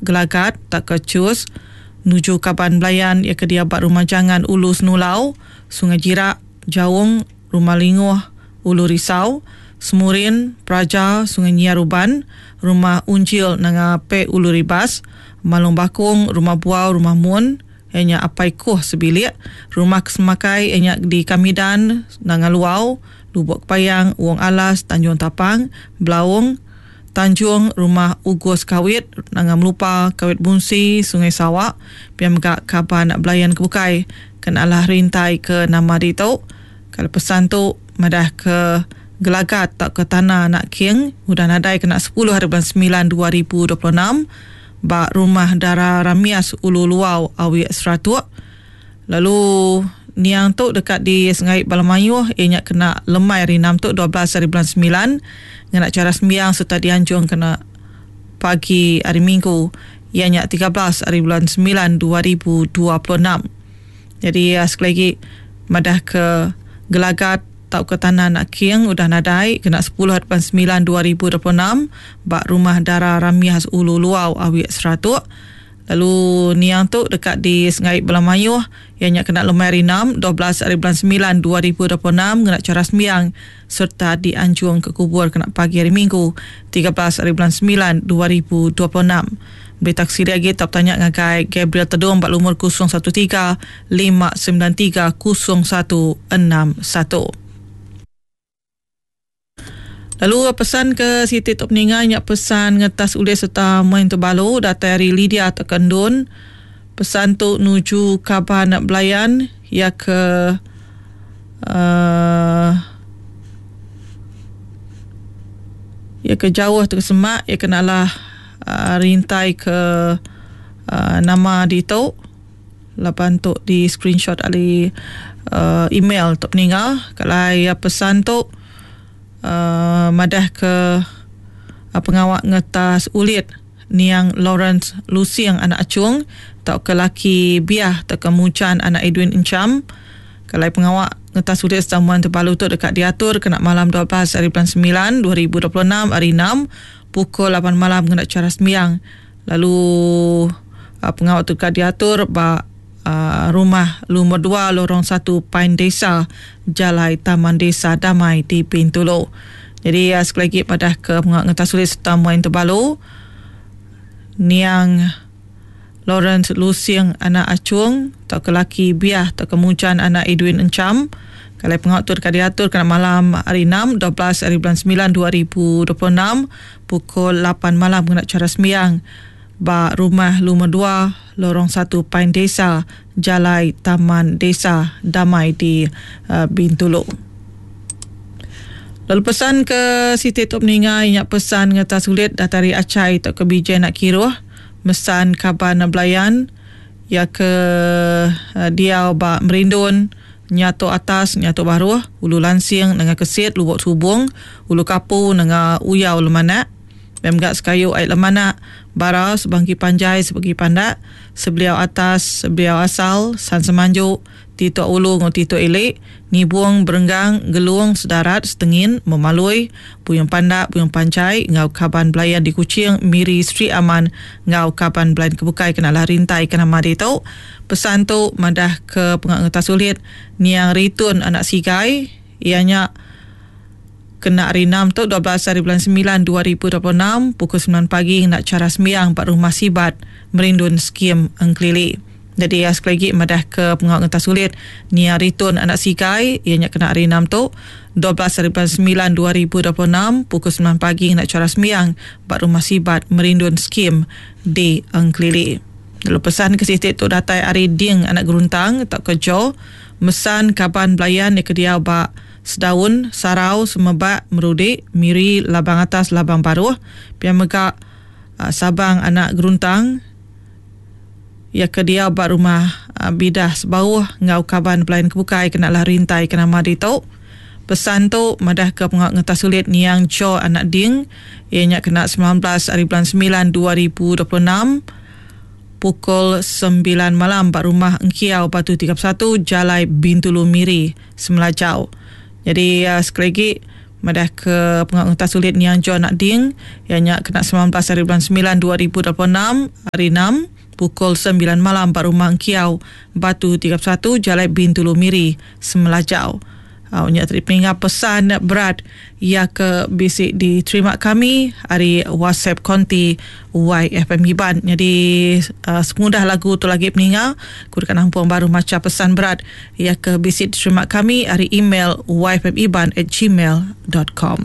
Gelagat tauka Chus nuju kaban belayan iya ke diau ba Rumah Jangan Ulu Senulau, Sungai Jirak, Jaung, Rumah Linguh, Ulu Risau, Semurin, Praja, Sungai Nyiar Uban, Rumah Unjil Nanga Pek Ulu Ribas, Malong Bakong, Rumah Buau, Rumah Mun, iya nya Apai Kuh sebilik, Rumah Kesemakai iya nya di Kamidan, Nanga Luau, Lubok Kepayang, Wong Alas, Tanjung Tapang, Belaong, Tanjung, Rumah Ugus Kawit, Nanga Melupa, Kawit Bunsi, Sungai Sawa, pia mega kaban belayan ke bukai ke alah rintai ke nama ditu. Kala pesan tu madah ke Gelagat tauka Tanah Anak King udah nadai kena sepuluh hari bulan semilan 2026 ba Rumah Dara Ramias Ulu Luau Awik Seratuk lalu niang tu deka disengai bala mayuh iya nya kena lemai hari enam tu 12 hari bulan semilan ngena chara sembiang sereta dianjung kena pagi hari minggu iya nya 13 hari bulan semilan 2026. Nyadi sekali agi madah ke Gelagat tauka Tanah Anak King udah nadai kena sepuluh hari bulan semilan 2026 ba Rumah Dara Ramias Ulu Luau Awik Seratuk. Lalu niang tu deka disengai bala mayuh iya nya kena lemai hari enam, 12 hari bulan semilan 2026 ngena chara sembiang sereta dianjung ke kubur kena pagi hari Minggu, 13 hari bulan semilan 2026. Berita ke silik agi tau betanya ngagai Gabriel Tedong ba lumur 013 593 0161. Lalu pesan ke siti tu peninga nya pesan ngetas ulih sereta main tebalu datai ari Lydia tauka Endun. Pesan tu nuju kaban belayan iya ke uhh iya ke jauh tauka semak iya ke nalah uhh rintai ke uhh nama ditu. Laban tu di screenshot ari uhh email tu peninga kalai pesan tu. Madah ke pengawa ngetas ulit niang Lawrence Lusing anak Achung tauka laki Biah tauka Mujan anak Edwin Encham. Kelai pengawa ngetas ulit Samuan Tebalu tu deka diatur kena malam 12 hari bulan semilan 2026 hari enam pukul lapan malam ngena chara sembiang lalu pengawa tu deka diatur ba Rumah Lumur dua Lorong satu Pain Desa, Jalai Taman Desa Damai di Bintulu. Nyadi sekali agi padah ke pengawa ngetas ulit sereta muai Tebalu niang Lawrence Lusing anak Achung tauka laki Biah tauka Mujan anak Edwin Encham. Kalai pengawa tu deka diatur kena malam hari enam, 12 hari bulan semilan 2026 pukul lapan malam ngena chara sembiang. Ba Rumah Lumur dua, Lorong satu Pain Desa, Jalai Taman Desa Damai di Bintulu. Lalu pesan ke siti tu peninga iya nya pesan ngereta sulit datai ari Achai tauka Bijai Anak Kiruh mesan kaban belayan iya ke diau ba Merindun, Nyatok Atas, Nyatok Baruh, Ulu Lansing nengah Kesit, Lubok Subong, Ulu Kapu nengah Uyau Lemanak. Pia mega sekayu ai lemanak, bara, sebangki panjai, sebagi pandak, sebeliau atas, sebeliau asal, san semanju, tituk ulu enggau tituk ili, ngibung, berenggang, gelung, sedarat, setengin, memalui, buyung pandak, buyung panjai enggau kaban belayan di Kuching, Miri, Sri Aman enggau kaban belayan ke bukai kena lah rintai ke nama ditu. Pesan tu madah ke pengawa ngetas ulit niang Ritun anak Sigai iya nya Kena hari enam tu, 12 hari bulan semilan 2026, pukul semilan pagi ngena chara sembiang ba Rumah Sibat, Merindun Skim Engkelili. Nyadi iya sekali agi madah ke pengawa ngentas ulit Nia Ritun anak Sigai iya nya kena hari enam tu, 12 hari bulan semilan 2026, pukul semilan pagi ngena chara sembiang ba Rumah Sibat, Merindun Skim di Engkelili. Lalu pesan ke siti tu datai ari Ding anak Geruntang tauka Joe, mesan kaban belayan iya ke diau ba Sedaun, Sarau, Semebak, Merudi, Miri, Labang Atas, Labang Baruh, pia mega Sabang anak Geruntang iya ke diau ba rumah Bidah Sebauh enggau kaban pelayan ke bukai kena lah rintai ke nama ditu. Pesan tu madahka pengawa ngetas ulit niang Cho anak Ding iya nya kena 19 ari bulan semilan 2026. Pukul sembilan malam ba Rumah Engkiau Batu 31 Jalai Bintulu Miri, Semelajau. Nyadi sekali agi Madah ke pengawa ngetas ulit niang John Ading iya nya kena 19 hari bulan 9 2026 hari 6 pukul 9 malam ba Rumah Engkiau Batu 31 Jalai Bintulu Miri Semelajau. Au nya tadi peninga pesan berat iya ke bisi diterima kami ari WhatsApp konti YFM Iban. Nyadi uh, sepengudah lagu tu lagi peninga, ku deka nampung baru macha pesan berat iya ke bisi diterima kami ari email yfmiban@gmail.com.